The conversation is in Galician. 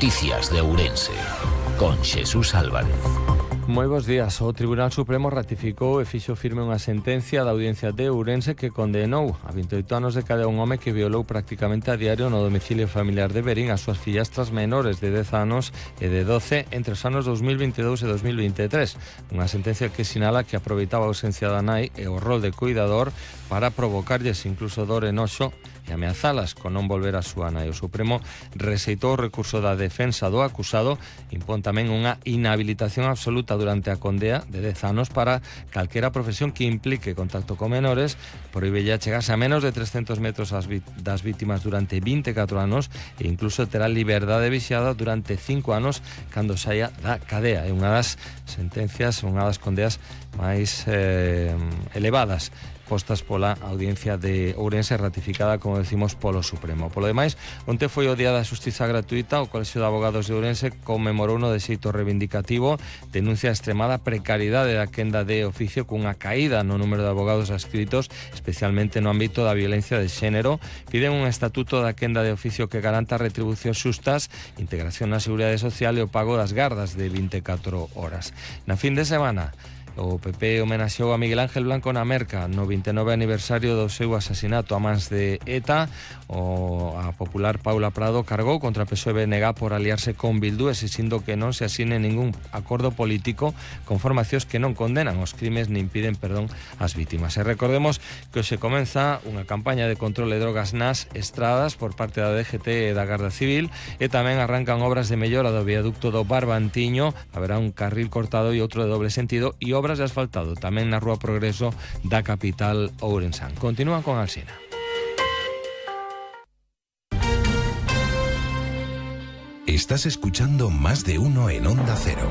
Noticias de Ourense, con Xesús Álvarez. Moi bons días. O Tribunal Supremo ratificou e fixo firme unha sentencia da Audiencia de Ourense que condenou a 28 anos de cadea un home que violou prácticamente a diario no domicilio familiar de Verín as súas fillastras menores de 10 anos e de 12 entre os anos 2022 e 2023. Unha sentencia que sinala que aproveitaba a ausencia da nai e o rol de cuidador para provocarlles incluso dor e noxo e ameazalas con non volver a súa nai. O Supremo rexeitou o recurso da defensa do acusado, impón tamén unha inhabilitación absoluta durante a condea de 10 anos para calquera profesión que implique contacto con menores, prohíbelle chegarse a menos de 300 metros das vítimas durante 24 anos e incluso terá liberdade vixiada durante 5 anos cando saia da cadea. É unha das sentencias, unha das condeas máis elevadas postas pola Audiencia de Ourense, ratificada, como decimos, polo Supremo. Polo demais, onte foi o Día da Xustiza Gratuita. O Colexio de Abogados de Ourense conmemorou no de xeito reivindicativo, denuncia a extremada precariedade da quenda de oficio cunha caída no número de abogados adscritos, especialmente no ámbito da violencia de xénero. Piden un estatuto da quenda de oficio que garanta retribucións xustas, integración na seguridade social e o pago das gardas de 24 horas. Na fin de semana, o PP homenaxeou a Miguel Ángel Blanco na Merca no 29 aniversario do seu asasinato a mans de ETA. A popular Paula Prado cargou contra PSOE e BNG por aliarse con Bildu, exixindo que non se asine ningún acordo político con formacións que non condenan os crimes nin piden perdón ás vítimas. E recordemos que hoxe comeza unha campaña de control de drogas nas estradas por parte da DGT e da Garda Civil, e tamén arrancan obras de mellora do viaducto do Barbantiño. Haberá un carril cortado e outro de doble sentido e obras de asfaltado tamén na Rúa Progreso da capital ourensán. Continúan con Alsina. Estás escuchando Más de Uno en Onda Cero.